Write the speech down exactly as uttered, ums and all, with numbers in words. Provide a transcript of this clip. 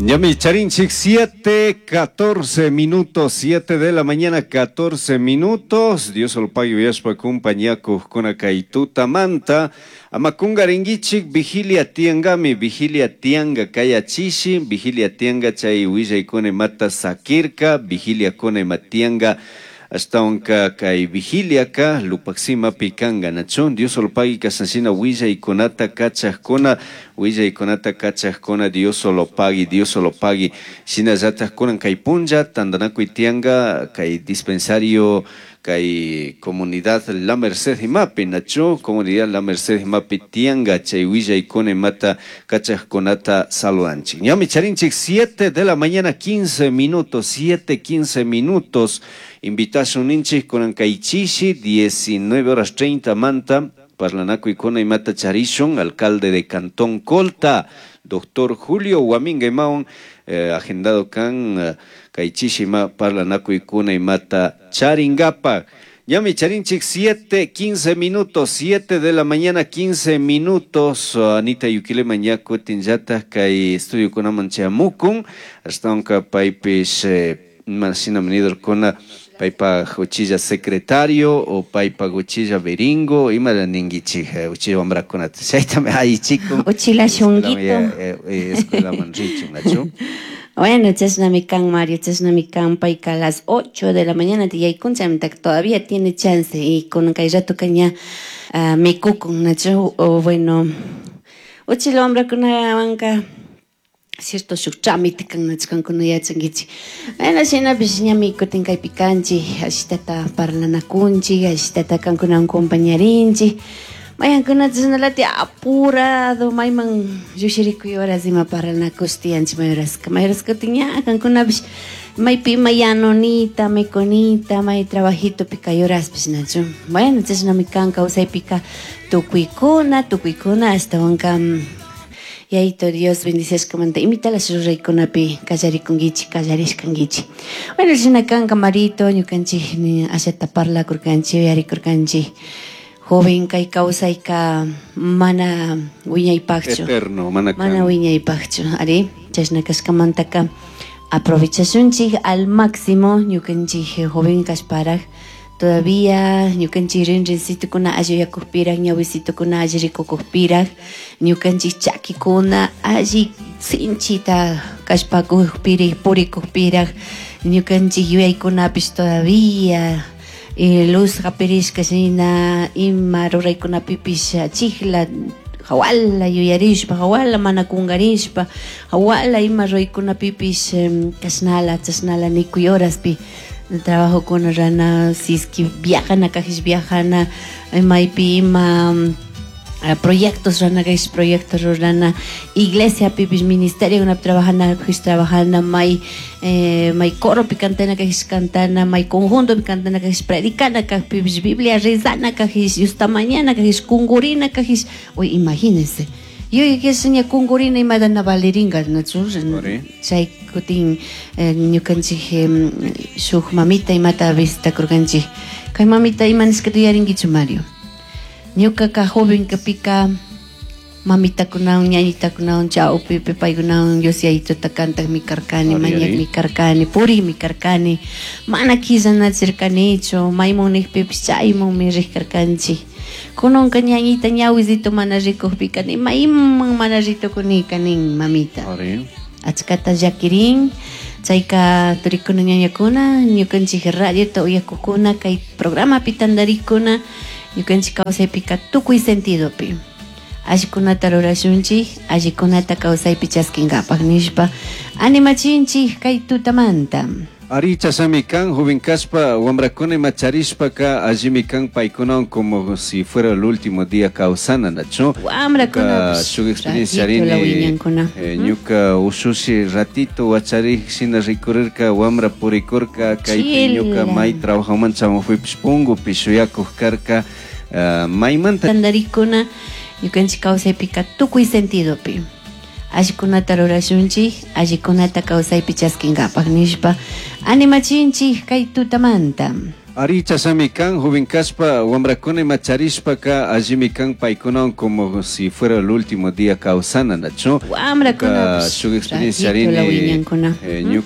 Ñami charinchik siete, catorce minutos, siete de la mañana, catorce minutos. Dios lo pague uyashpa kumpañakuqkuna kay tutamanta. Ama kungarinkichik vigilia tiangami, vigilia tianga kayachishi, vigilia tianga chay willaykuna imata sakirka, vigiliakuna ima tianga. Ashtawanka kay vigiliaka Lupaximapi kanka, nachu? Dios lo pague kashanshina willaykunata kachaqkuna, willaykunata kachaqkuna, Dios lo pague, Dios lo pague. Shinallataj kunan kay punlla tantanakuy tianga kay dispensario kay comunidad La Merced imapi, nachu? Comunidad La Merced imapi tianga chay willaykuna imata kachaqkunata saludanchik. Ñami charinchik siete de la mañana quince minutos, siete quince minutos. Invitación ninchik kunan kay chishi diecinueve horas treinta manta parlanakuykuna imata charishun alcalde de Cantón Colta, doctor Julio Guaminga imawan, eh, agendado kan, eh, kay chishi ima parlanakuykuna imata charingapa. Ñami charinchik siete quince minutos, siete de la mañana quince minutos. Anita Yuquilema ña kutinllataj kay estudio kunaman chamukun, ashtawanka paypish, eh, imashina nidorkuna paypa uchilla secretario o paypa uchilla beringo, imara ninkichik, eh, uchilla wamrakunata chaytami allichikun. Uchila shunguito. Eh, eh, escuelaman richun, nachu? Bueno, chashnami kan, Mario, chashnami kan, payka a las ocho de la mañana tiyaykun, chaymanta todavía tiene chance y con kay rato kaña, ah, mikukun, nachu? O bueno, uchila wamrakunawanka cierto shuk trámite kan, nachu, kankuna yachankichik. Bueno, shinapish ñami kutin kaypi kanchik, ashtata parlanakunchik, ashtata kankunawan compañarinchik. Mayankunata chashnalati apurado, mayman llushirikuy horas ima parlanakush tiyanchik may horaska. May horaska kutin ña kankunapish maypi ima yanunita, mikunita, may trabajitopi kay horaspish, nachu. Bueno, chashnami kan kawsaypika tukuykuna, tukuykuna ashtawanka, Yaito Dios bendiciashkamanta imitalash ruraykunapi kallarikunkichik, kallarishkankichik. Bueno, shina kanka Marito, ñukanchik ni ashata parlakurkanchik, uyarikurkanchik. Joven kay kawsayka mana wiñaypaqchu. Eterno, mana Mana kan. wiñaypaqchu, ari, chashna kashkamantaka aprovechashunchik al máximo ñukanchik joven kashparaj. Todavía ñukanchik rinrincitukuna alli uyakukpiraj, ñawisitukuna alli rikukukpiraj, ñukanchik chakikuna alli sinchita kashpakukpirij, purikukpiraj, ñukanchik yuyaykunapish todavía, eh, luz hapirishka shina, ima ruraykunapipish achikla hawala yuyarishpa, hawala mana kungarishpa, hawala ima ruraykunapipish, em, kashnala, chashnala nikuy horaspi trabajokuna rana, si es que viajana, kajish viajana, maypi ima, eh, proyectos rana, kajish proyectos rurana, iglesia pipish ministerio kuna trabajana, kajish trabajana, may, eh, may coro pi cantana, kajish cantana, may conjunto pi cantana, kajish predicana, kajish pipish Biblia rezana, kajish justa mañana, kajish kungurina, kajish, uy, imagínense. Yo que soñé kungurina y madana baleringa, ¿no? Ori. Chay kutin, eh, ñukanchik, em, shuk mamita imata visita kurkanchik. Kay mamita ima nishkata yuyarinkichu, Mario. Ñukaka joven kapika mamitakunawan, ñañitakunawan, chawpipi paykunawan Dios Yayituta kantaqmi karkani, Ari, ari. mañaqmi karkani, purikmi karkani, mana killanachirkanichu, maymun nikpipish chaymunmi rik karkanchik. Kunanka ñañita ñawisito mana rikukpika ni mayman mana ritukunika nin mamita. Ari. Achkata llakirin, chayka turikuna ñañakuna, ñukanchik radiota uyakukuna, kay programapi tantarikuna, ñukanchik kawsaypika tukuy sentidopi. Allikunata rurashunchik, allikunata kawsaypi chaskinkapak nishpa animachinchik kay tutamanta. Ari chasami kan, joven kaspa, wamrakuna ima charishpaka, allimi kan paykunawan como si fuera el último día kawsana, nachu? Wamrakuna, Ñuka shuk experiencia ratito la rini, wiñankuna. eh, Ujú. ñuka ushushi ratito wacharik shina rikurirka, wamra purikurka, kaypi Chila. ñuka may trabajoman chamujuipish pungupi shuyakuj karka, eh, maymanta Tantarikuna, ñukanchik kawsaypika tukuy sentidopi. Allikunata rurashunchik, allikunata kawsaypi chaskinkapak nishpa animachinchik kay tutamanta. Ari chashnami kan joven kashpa wambrakuna ima charishpaka allimi kan paykunawan como si fuera el último día kawsana nachu Wambrakunapish shuk experiencia ratito la rini wiñankuna. eh, Ujú.